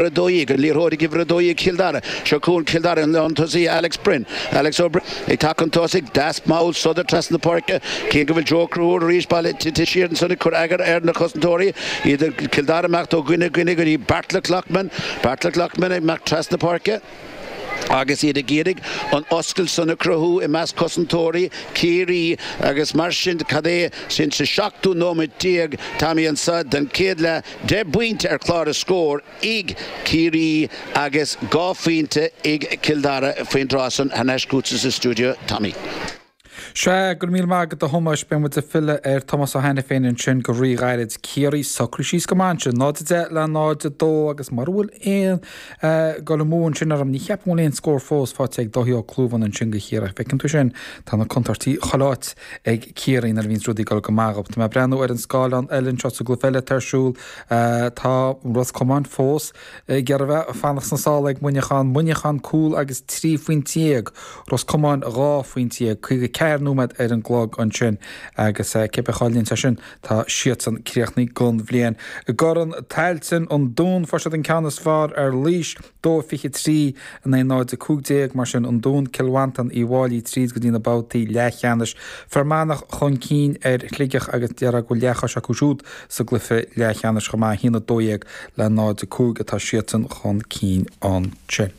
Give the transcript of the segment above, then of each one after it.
12, an liathróid ag uimhir 12 Cill Dara. Seo chugainn Cill Dara, an lántosaí Alex Brinn. Alex Ó Broin ag teacht chun tosaigh, deas mall sodar trasna na páirce. Cé go bhfuil Joe Ó Conchúir arís bailithe tite siar ansan ag cur eagar ar na cosantóirí. Iad Cill Dara ag imeacht ó dhuine go dhuine go dtí Beairtle Loughman. Beairtle Loughman ag imeacht trasna páirce. Agus iad ag iarraidh an oscailt san a chruthú i measc cosantóirí Chiarraí agus mar sin cad é sin sa seachtú nóiméad déag Tommy anso den chéad leath 10 bpointe ar chlár na scór ag Ciarraí agus 2 phointe ag Cill Dara faoin dtráth san. Thar n-ais chugatsa sa stiúideo, Tommy. Sea, go raibh míle maith agat a Thomáis. Beidh muid ag filleadh ar Tomás Ó hAiniféin ansin go rí-ghairid. Ciarraí socraithe síos go maith ansin, 0-10 le 0-2 agus mura bhfuil aon dul amú ansin orm, ní cheapaim go bhfuil aon scór fós faighte ag Dáithí Ó Clúmháin ansin do Chiarraí. Feiceann tú sin, tá na contúirtí chuile áit ag Ciarraí nuair a bhíonns rudaí ag dul go maith dhóibh. Tá mé ag breathnú ar an scáileán eile anseo sa gcluiche eile atá ar siúl. Tá Ros Comáin fós ag iarraidh a bheith fanacht sna sála ag Muineachán. Muineachán cúl agus 13 phointe. Ros Comáin 12 phointe. 54 nóiméad ar an gclog ansin agus cibé a chailleann sé sin tá siadsan críochnaithe don bhliain. I gCorn Tailteann, an Dún, fuair siad an ceann is fearr ar Laois. 2-23 in aghaidh 0-15, mar sin an Dún, Cill Mhantáin, Uíbh Fháilí tríd go dtí na babhtaí leathcheannais. Fear Manach chun cinn ar Shligeach agus déarfá go bhfuil leathchois acu siúd sa gcluiche leathcheannais chomh maith, 1-12 le 0-5 atá siadsan chun cinn ansin.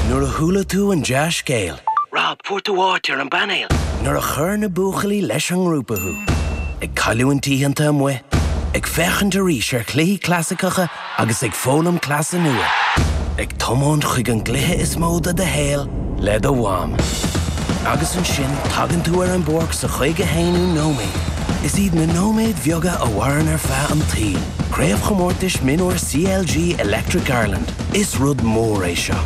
Nuair a chuala tú an dea-scéal. Rob, fuair tú áit ar an bpainéal! Nuair a chuir na buachaillí leis an ngrúpa thú. Ag cailliúint oícheanta amuigh, ag féachaint arís ar chluichí clasaiceacha agus ag foghlaim cleasa nua. Ag tiomáint chuig an gcluiche is mó de do shaol le do mham. Agus ansin tagann tú ar an bpáirc sa 51ú nóiméad. Is iad na nóiméid bheaga a mhaireann ar feadh an tsaoil. Craobhchomórtais Mionúir CLG Electric Ireland. Is rud mór é seo.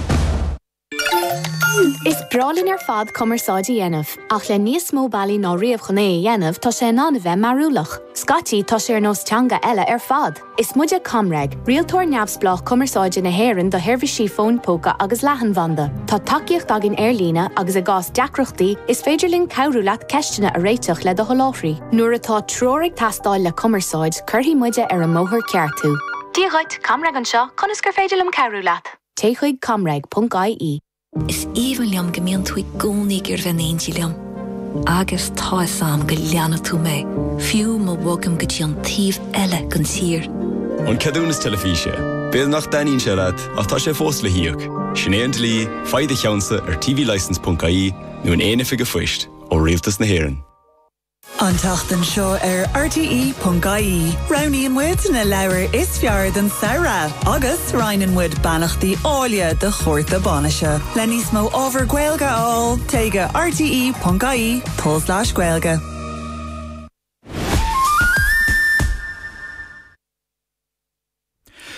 Is breá linn ar fad cumarsáid a dhéanamh, ach le níos mó bealaí ná riamh chun é a dhéanamh, tá sé in ann a bheith mearúlach. Scaití, tá sé ar nós teanga eile ar fad! Is muide ComReg, rialtóir neamhspleách cumarsáide na hÉireann do sheirbhísí fóin póca agus leathanbhanda. Tá tacaíocht againn ar líne agus i gcás deacrachtaí, is féidir linn cabhrú leat ceisteanna a réiteach le do sholáthraí. Nuair atá treoir ag teastáil le cumarsáid, cuirfidh muide ar an mbóthar ceart thú. Dia dhuit, ComReg anseo, conas gur féidir liom cabhrú leat? Téigh chuig comreg.ie. Is aoibhinn liom go mbíonn tú i gcónaí ag iarraidh bheith in éindí liom. Agus tá 'fhios a'm go leanfaidh tú mé, fiú má bhogaim go dtí an taobh eile den tír. An ceadúnas teilifíse. B'fhéidir nach dtaitníonn sé leat, ach tá sé fós le híoc. Sin é an dlí, faigh do cheannsa ar tvlicence.ie nó in aon oifig an phoist ó Rialtas na hÉireann. An tseachtain seo ar RTÉ.ie, roghnaíonn muid na leabhair is fearr don samhradh agus roinneann muid beannachtaí áille do chárta bainise. Le níos mó ábhar Gaeilge a fháil, téigh go rte.ie tulslais Gaeilge.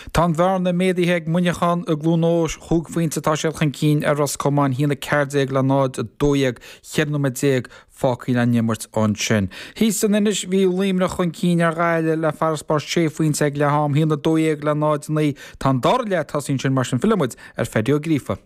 Tá an bhearna méadaithe ag Muineachán i gCluain Eois, chúig phointe atá siad chun cinn ar Ros Comáin, 1-14 le 0-12, 14 nóiméad fágtha le n-imirt ansin. Thíos san Inis, bhí Luimneach chun cinn ar Ghaillimh le farasbarr sé phointe ag leath am, 1-12 le 0-9. Tá an dara leath tosaithe ansin mar sin fillfidh muid ar Phaddy Ó Gríofa.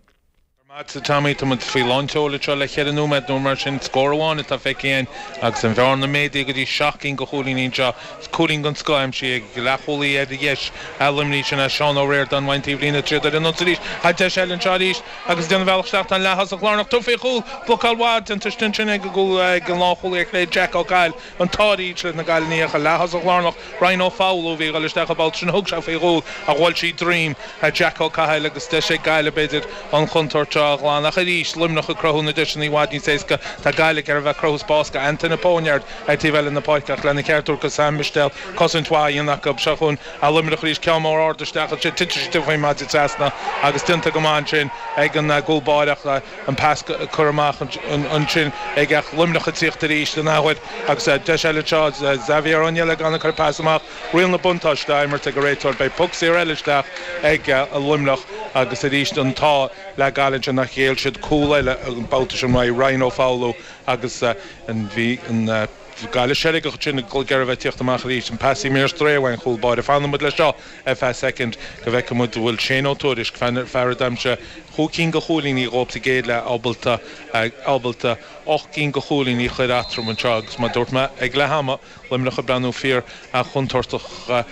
Maith agat a Tommy, tá muid faoi lán tseoil anseo le cheithre nóiméad nó mar sin. Scór amháin atá feicthe againn agus an bhearna méadaithe go dtí seacht gcinn de chúilíní anseo. Is cúilín den scoth aimsithe ag leathchúlaí ar dheis Luimnigh, sin é Seán Ó Ríordáin, an taobhlíne troid ar an ionsaí arís. Tá deis eile anseo arís agus ag déanamh a bhealach isteach tá an leath-thosach lárnach tugtha faoi chúl. Blocáil mhaith déanta ansin ag an gcúl ag an lánchúlaí ar chlé Jack Ó Cathail, an t-áiríd leis na Gaillimhigh ach an leath-thosach lárnach Ryan Ó Foghlú a bhí ag dul isteach an babhta sin, thug sé faoi chúl ach bhuail sí droim Jack Ó Cathail agus deis ag Gaillimh b'fhéidir an chontúirt seo a ghlanadh. Ach arís, Luimneach ag cruthú na deiseanna i bhfad níos éasca. Tá Gaillimh ag iarraidh a bheith ag cruthú spás go Antaine Póinéard ar taobh eile na páirce ach lena cheart a thabhairt go Sam Mistéil, cosaint mhaith á dhéanamh acu. Seo chugainn Luimneach arís, ceann mór ard isteach ansin, titeann sé faoin maide trasna agus déanta go maith ansin ag an gcúl báire ach an pas curtha amach ansin ag ach Luimneach ag tíocht arís an athuair agus deis eile anseo Xavier Ó Nialláin ag cur pas amach. Riail na buntáiste á imirt ag an réiteoir. Beidh poc saor eile isteach ag Luimneach agus arís an t-ádh le Gaillimh ansin nach ghéill siad cúl eile an babhta sin uaidh Ryan Ó Foghlú agus bhí an. Gaillimh seilgeach ansin ag iarraidh a bheith ag tíocht amach arís. An pas imithe ar strae uaidh an chúl báire. Fanfaidh muid leis seo ar feadh soicind go bhfeicfidh muid an bhfuil Shane Ó Tuairisg, fear a d'aimsigh chúig cinn de chúilíní dhóibh sa gcéad leath, ábalta ábalta ocht gcinn de chúilíní a chur eatarthu anseo agus mar a dúirt mé ag leath ama, Luimneach ag breathnú fíor chontúirteach.